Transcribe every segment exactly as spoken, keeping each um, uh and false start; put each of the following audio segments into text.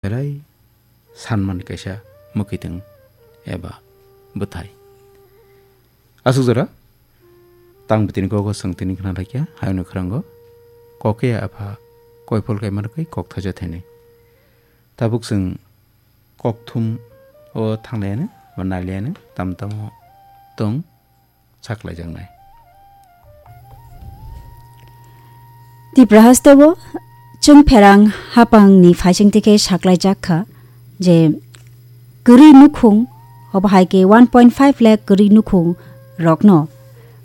belai sanmani kaisa mwkhwitwng eba bwthai. Aswk jora tang bitini kok o chwng tini khna laikya, hayungni khwrango kok ya apha koiphol kaima rwgwi kok thaisa thainwi. Tabuk chwng kokthum o thanglaiano ba nailaiano tam tamo tong saklaijaknai. Tipra hasteo chwng pherang hapangni phaisingtwi khe saklaijak kha je kwrwi nukhung, obo hai khe one point five lakh kwrwi nukhung rokno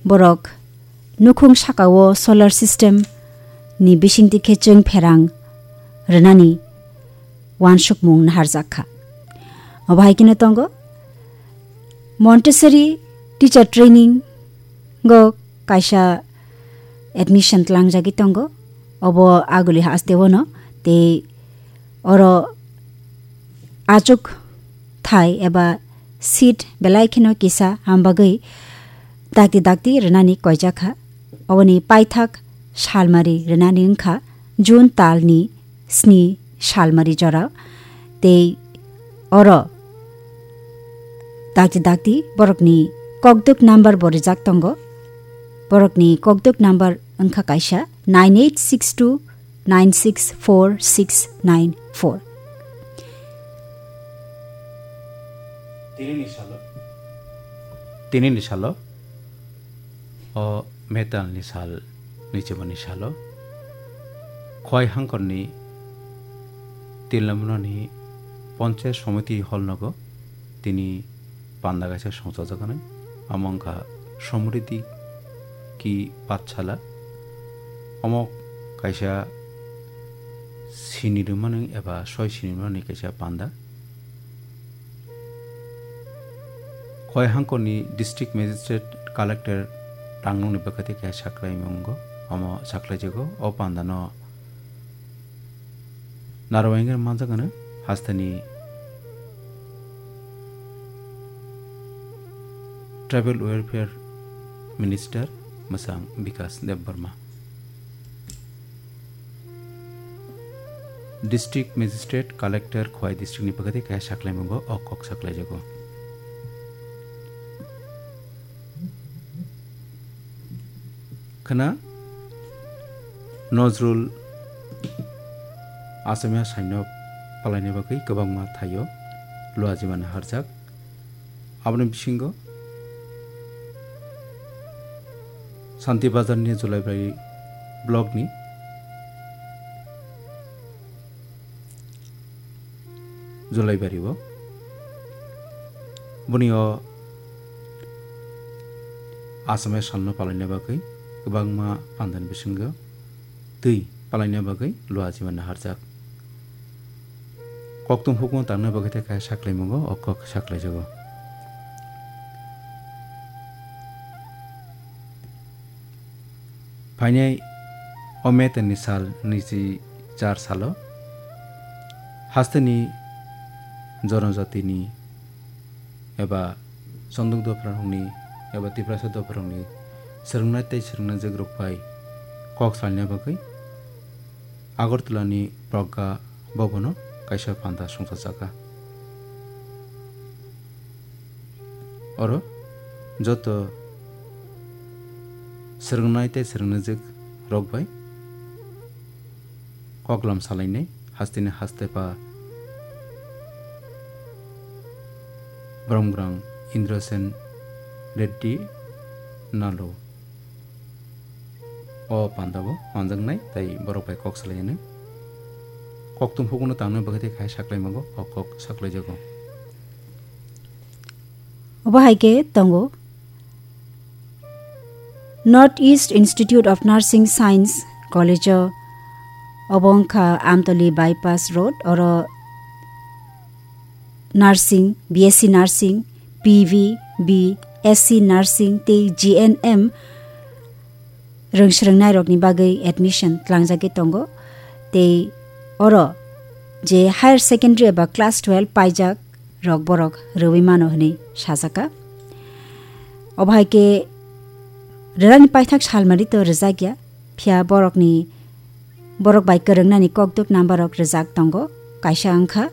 borok nukhung sakao solar system ni bisingtwi khe chwng pherang rwnani uansukmung naharjak kha. Obo hai kheno tongo Montessori teacher training o kaisa admission tlangjagwi tongo. Obo aguli hasteo no tei oro achuk thai eba seat belai kheno kisa, am bagwi dakti dakti rwnani koijak kha. Oboni paithak salmari rwnani wngkha June talni sni salmari jora, tei oro dakti dakti borokni kokdwk number bo rijak tongo. Borokni kokdwk number wngkha kaisa nine eight six two nine six four six nine four. Tinini salo, tinini salo o metalni sal nichimani salo Khowai hangkorni Tillamnani Panchayat Samiti hall nogo tini panda kaisa songchajaknai, amo wngkha Samriddhi Ki Pathshala. Omo kaisa sini rwmani eba soi sini rwmani kaisa panda. Khowai hangkorni district magistrate collector tangnokni bwkhaitwi khe saklaimungo, omo saklaijago. O pandano narwainger manjakgano hasteni Tribal Welfare Minister Mwsang Bikas Debbarma. District Magistrate, Collector Khowai District ni bwkhaitwi kaya saklaimungo o kok saklaijago. Khwna Nozrul Asamiya saino palaini bagwi kwbangma thaio luajimani harjak. Aboni bisingo Santi Bazar ni Julaibari block ni Julaibari o boni o Asamiya salno palaina bagwi kwbangma pandani bisingo twi palaina bagwi luajimani harjak. Kokthum hukung tangna bagwi tei kaisa saklaimungo o kok saklaijago. Phainai o May talni sal nwichi char salo hasteni jonojatini eba Chondok dopharokni eba Tiprasa dopharokni swrwngnai tei swrwngnaijwk rok bai kok salna bagwi Agartala ni Pragya Bhavan o kaisa panda songchajakha. Oro joto swrwngnai tei swrwngnaijwk rok bai koklam salainai hasteni hastepa Bromgrang Indrasen Reddy Nalu o pandao manjaknai tei borok bai kok salainai. Kokthum hukuno tangnai bagwi tei khai saklaimago o kok saklaijago. Obo hai khe tongo North East Institute of Nursing Science College o, obo wngkha Amtoli Bypass Road, oro nursing, B S C nursing, P V, B S C nursing tei G N M rwng swrwngnairokni bagwi admission tlangjagwi tongo. Tei oro je higher secondary eba class twelve paijak rok borok rwui mano hwnwi sajaka. Obo hai khe rwnani paithak salmari to rwjakya, phiya borokni, borok bai kwrwngnani kokdwk number rok rwjak tongo. Kaisa wngkha